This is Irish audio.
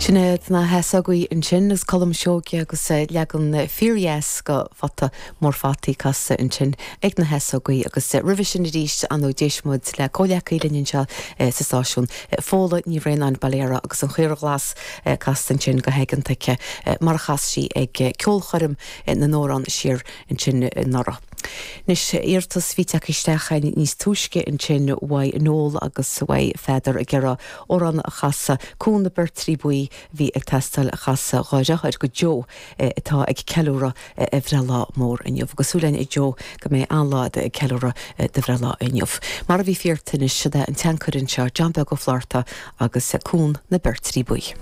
Sin iad na hEasógaí ansin agus Colm Seoige agus leagan fíordheas de Phota Mór Fataí casta ansin ag na hEasógaí agus roimhe sin arís ar ndóigh d'éist muid le comhleacaí linn anseo sa stáisiún, Fódhla Ní Bhraonáin, Baile Heara agus An Chaora Ghlas casta ansin go haigeanta aici mar a chas sí ag ceolchoirm na n-amhrán siar ansin anuraidh. Anois, iarratas a bhí tagtha isteach níos túisce ansin uaidh Noel agus uaidh Pheadar ag iarraidh amhrán a chasadh, Cuan na Beirtrí Buí a bhí ag teastáil a chasadh dhá dheartháir go Joe atá ag ceiliúradh a bhreithlá mór inniu. Agus súil againn a Joe go mbeidh an-lá agat ag ceiliúradh do bhreithlá inniu. Mar a bhí fíorthinnis, siod é an tseanchaire anseo, John Beag Ó Flatharta agus Cuan na Beirtrí Buí.